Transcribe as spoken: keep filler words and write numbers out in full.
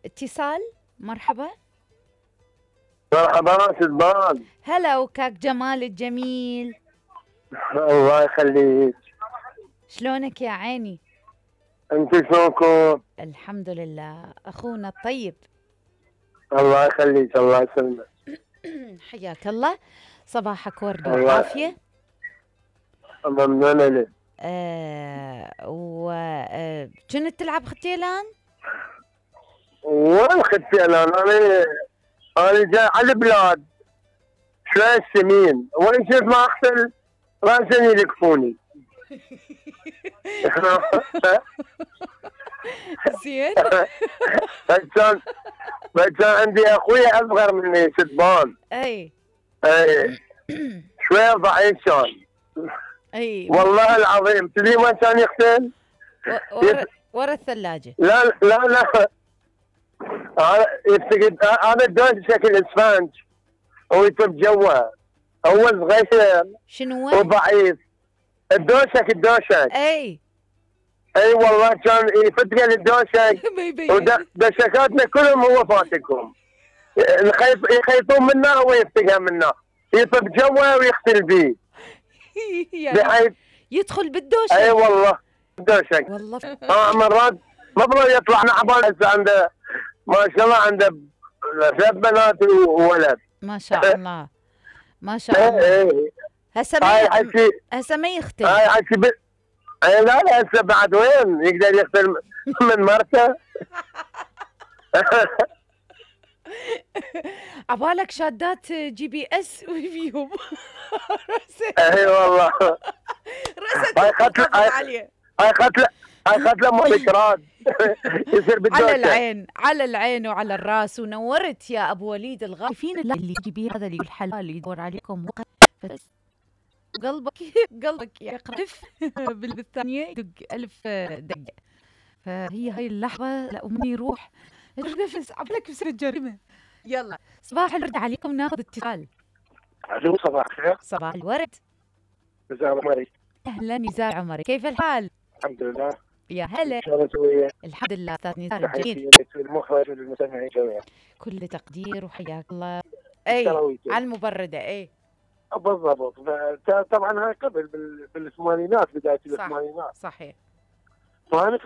اتصال. مرحبا. مرحبا سلمان. هلا وكاك جمال الجميل. الله يخليك. شلونك يا عيني؟ انت شلونكم؟ الحمد لله اخونا الطيب. الله يخليك الله يسلمك. حياك الله. صباحك ورد وعافيه. ممنونة لك. آه وكنت تلعب ختيلان؟ وين ختيلان؟ انا انا جاي على البلاد شوية سمين، وين شفت ما اختل راسني يلقفوني. زين. فكان فكان عندي اخوي اصغر مني سدبان. اي اي شوية ضعيف كان. اي والله العظيم تدري وين كان يختل؟ ورا ورا الثلاجة. لا لا لا هذا يفتقد هذا الدوش شكل اسفنج ويطب جوا. هو صغير شنو وضعيف. الدوشك الدوشك اي اي والله كان يفتقد الدوشك. ودشكاتنا كلهم هو فاتكهم. الخيف يخيفون منه هو يفتقها منه. يطب جوا ويختل بيه. يعني يدخل بالدوشك. اي والله الدوشك والله. اه مرات مفروض يطلع نعبان. هسه عنده ما شاء الله عنده ثلاث بنات وولد. ما شاء الله ما شاء الله. هسه ما هسه ما يختل. هاي حكي ب... لا لا هسه بعد وين يقدر يختل من مرته. عبالك شادات جي بي اس وفيهم. اي والله. رأسك تقف عليه. هاي قتله هاي قتله مذكرات. يصير بالدوشة. على العين على العين وعلى الراس. ونورت يا ابو وليد الغالي. فين اللي يجيبيه هذا اللي الحلال يدور عليكم بس قلبك قلبك يقرف بالثانية يدق ألف دقة. فهي هاي اللحظة لا ومن يروح النفس عبلك بسر الجريمة. يلا صباح الورد عليكم. ناخذ اتصال. الو صباح الخير. صباح الورد. نزار عمري. اهلا نزار عمري، كيف الحال؟ الحمد لله. يا هلا. شلونك وياك؟ الحمد لله استاذ نزار جميل. المخرج والمستمعين جميعا. كل تقدير وحياك الله. اي على المبردة. اي بالضبط. طبعا هاي قبل بالثمانينات بداية الثمانينات. صحيح. فانا